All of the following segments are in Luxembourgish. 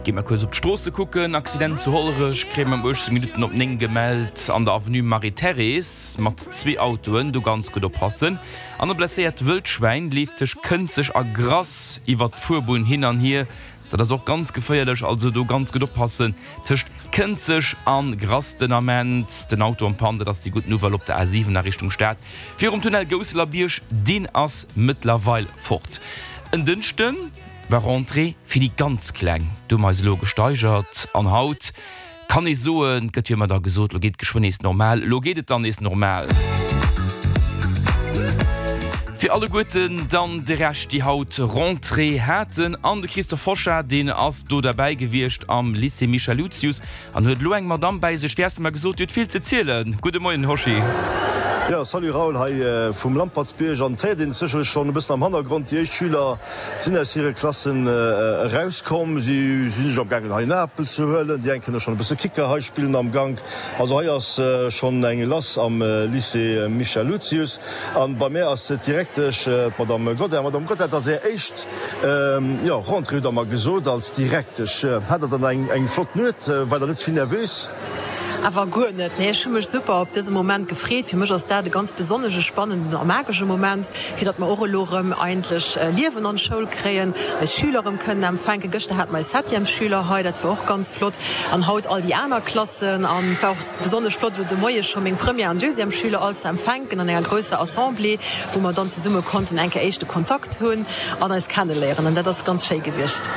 Gi mer kuerz op d'Stroosse kucken. Accident zu Hollerech kréie mer um 18 Minutten op 9 gemellt an der Avenue Marie-Thérèse mat zwee Autoen. Do ganz gutt oppassen. An e blesséiert Wëldschwäin leeft tëscht Kënzeg a Grass iwwert d'Fuerbunn hin an hier. Dat ass och ganz geféierlech, also do ganz gutt oppassen tëscht Kënzeg a Grass den Ament. Den Auto en panne, dat ass déi gutt Nouvelle op der A7 a Richtung Stad virum Tunnel Gousselerbiërg, deen ass mëttlerweil fort. En Dënschde war Rentrée fir déi ganz Kleng, do hu mer eis elo gesteigert an haut Kann ee soen, et gëtt jo ëmmer da gesot, lo geet et geschwënn nees normal, lo geet et dann nees normal. Fir alleguerten dann de Rescht, déi haut Rentrée haten. An de Christophe Hochard, deen ass do derbäi gewiescht am Lycée Michel Lucius an huet elo eng Madamm bäi sech, wéi has de mer gesot, déi huet vill ze zielen. Gudde Moien, Hoschi. Jo, salut Raoul, hei vum Lampertsbierg. An et héiert een et sécherlech schonn e bëssen am Hannergrond, déi éischt Schüler Sinn aus hire Klassen erauskomm. Si sinn sech am gaangen hei en Apel ze huelen. Déi eng kënne schonn e bësse Kicker hei spillen am Gank. Also hei ass schonn eng lass am Lycée Michel Lucius. An bei mär ass d'Direktesch, d'Madame Godin. Madame Godin, et ass Är éischt, jo, Rentrée hutt Der mer gesot, als Direktesch. Hat Der dann eng flott Nuet? War Der net ze vill nervös? Awer guer net. Nee, ech hu mech super op dëse Moment gefreet. Fir mech ass dat e ganz besonnesche, spannenden a magesche Moment, fir datt mer och elo erëm eigentlech Liewen an d'Schoul kréien, eis Schüler erëm kënnen empfänken. Gëschter hate mer eis Septièmesschüler hei, dat war och ganz flott. An haut all déi aner Klassen. An et war och besonnesch flott, elo de Moie scho meng Première an Deuxièmesschüler all ze empfänken an enger grousser Assemblée, wou mer dann zesumme konnten eng Kéier éischte Kontakt hunn an eis kenneléieren. An dat ass ganz schéi gewiescht.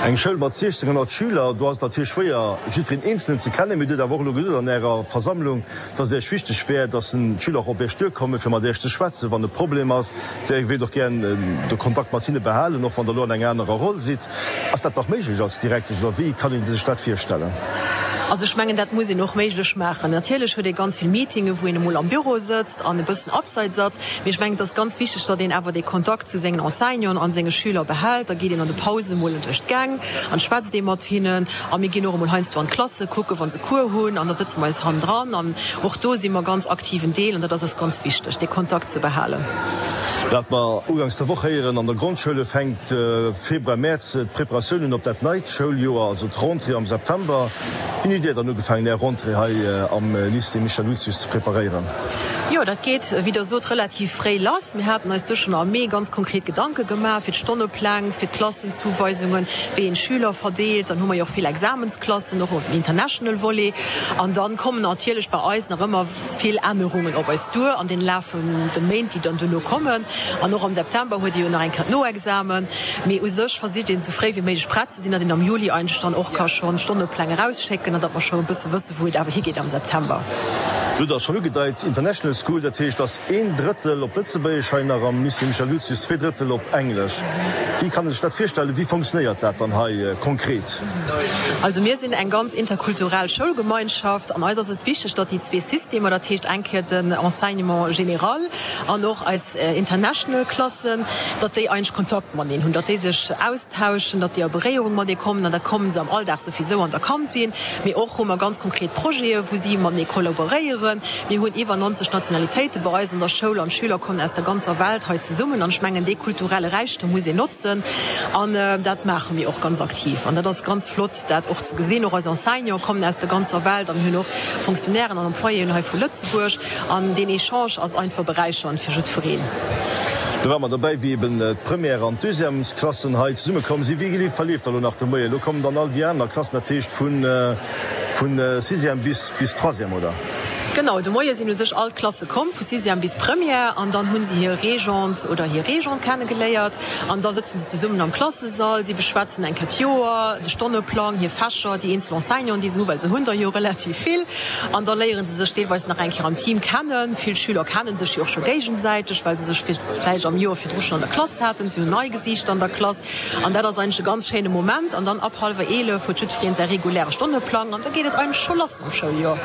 Eng Schoul mat 1600 Schüler, do ass et natierlech schwéier, jiddwereen Eenzelen ze kennen. Mee Dir hutt awer och elo gesot an Ärer Versammlung, dass et Iech wichteg wär, dass d'Schüler och op Iech duerkommen, fir mat Iech ze schwätzen, wann e Problem ass. Dir wéilt och gären de Kontakt mat hinne behalen, och wann Der elo an enger anerer Roll sidd. Ass dat nach méiglech als Direktesch oder wéi kann een sech dat virstellen? Also ech mengen, dat muss een och méiglech maachen. Natierlech huet ee ganz vill Meetinge wou een emol am Büro sëtzt an e bëssen abseits ass. Mee ech mengen, et ass ganz wichteg, datt een awer dee Kontakt zu sengen Enseignanten an senge Schüler behält. Da geet een an de Pausen emol duerch d'Gäng an schwätzt ee mat hinnen. A mir ginn och emol heiansdo an d'Klasse kucken, wa se Cours hunn, an da sëtze mer eis hannendran. An och do si mer ganz aktiven Deel an dat ass eis ganz wichteg, dee Kontakt ze behalen. Wat mer ugangs der Woch héieren, an der Grondschoul fänkt Februar, Mäerz d'Preparatiounen op dat neit Schouljoer, also d'Rentrée am September. Wéini hutt Dir dann ugefaangen, Är Rentrée hei am Lycée Michel Lucius ze preparéieren? Jo, dat geet, wéi Der sot, relativ fréi lass. Mir haten eis du schonn am Mee ganz konkret Gedanke gemaach fir d'Stonnepläng, fir d'Klassenzuweisungen, wéi een d'Schüler verdeelt. Dann hu mer jo och vill Examensklassen, och um International Volet. An dann kommen natierlech bei eis nach ëmmer vill Ännerungen op eis duer an den Laf vun de Méint, déi dann duerno kommen. An och am September huet ee jo nach eng Kéier d'Noexamen. Mee u sech versicht een, esou fréi wéi méiglech prett ze sinn, datt een am Juli eigentlech dann och ka schonn d'Stonnepläng erausschécken an datt mer scho e bësse wëssen, wou et awer higeet am September. Du hutt dat schonn ugedeit, International School, dat heescht, datt een Drëttel op Lëtzebuergesch hei nach am Lycée Michel Lucius, zwee Drëttel op Englesch. Wéi kann ee sech dat virstellen? Wéi fonctionnéiert dat dann hei konkret? Also mir sinn eng ganz interkulturell Schoulgemeinschaft an eis ass et wichteg, datt déi zwee Systemer, dat heescht eng Kéier den Enseignement général an och eis International Klassen, datt déi eigentlech Kontakt mateneen hunn, datt déi sech austauschen, datt déi a Beréierung matenee kommen an dat kommen se am Alldag souwisou an der Kantin. Mee och hu mer ganz konkret Projete wou si matenee kollaboréieren. Mir hunn iwwer 90 Nationalitéite bei eis an der Schoul an d'Schüler kommen aus der ganzer Welt hei zesummen an ech mengen dee kulturelle Räichtum muss een notzen an dat maache mir och ganz aktiv an dat ass ganz flott dat och ze gesinn. Och eis Enseignante kommen aus der ganzer Welt a mir hunn och Fonctionnairen an Employéen hei vu Lëtzebuerg an deen Echange ass einfach beräichernd fir jiddwereen. Do ware mer dobäi wéi eben d'Première an d'Deuxièmesklassen hei zesumme komm sinn. Wéi verleeft da lo nach de Moien? Lo kommen dann all déi aner Klassen, dat heescht vun Sixième bis Troisième, oder? Genau, de Moie sinn u sech all d'Klasse komm, vu Sixième bis Première, an dann hu se hir Régente oder hir Régent kennegeléiert an da sëtzen se zesummen am Klassesall, si beschwätzen eng Kéier d'Joer, de Stonneplang, hir Fächer, déi eenzel Enseignanten, déi se hu, well se hunn der jo relativ vill, an da léiere se sech deelweis nach eng Kéier am Team kennen. Vill Schüler kenne sech jo och scho géigesäiteg, well se sech vläicht am Joer virdru schonn an der Klass haten. Si hunn nei Gesiichter an der Klass an dat ass eigentlech e ganz schéine Moment. An dann ab hallwer 11 huet jiddwereen säi reguläre Stonneplang an da geet et eigentlech scho lass. Am Schouljoer.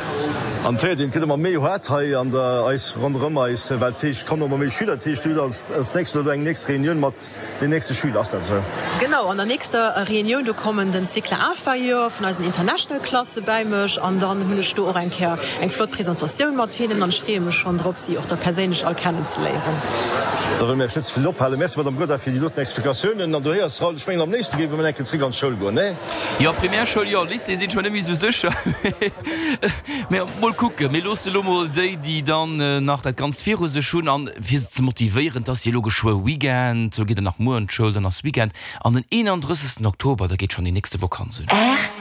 An d'Féiert een. gëtt ëmmer méi haart hei an der eis ronderëm eis, well et heescht, et kommen ëmmer méi Schüler. Dat heescht, Dir hutt als als nächst elo eng nächst Reunioun mat den nächste Schüler, ass dat esou? Genau, an der nächster Reunioun, do kommen den Cycle inférieur vun eisen International Klasse bäi mech an dann hunn ech do och eng Kéier eng flott Presentatioun mat hinnen an ech freeë mech schonn drop, si och da perséinlech all kennenzeléieren. Da wëlle mir Iech net ze vill ophalen. Merci, Madame Godin, fir déi doten Explikatiounen. An du héiers, Raoul, ech mengen, am léifste géife mir eng Kéier zréck an d'Schoul goen, nee? Jo, Primärschoul jo, Lycée sinn ech mer net méi esou sécher. Mä mol kucken. Mir loosse lo mol déi, déi dann nach dat Ganzt viru sech hunn, an fir se ze motivéieren, 't ass jo elo geschwë Weekend, lo geet et nach muer an d'Schoul, dann ass Weekend, an den 31. Oktober, da geet schonn déi nächste Vakanz un.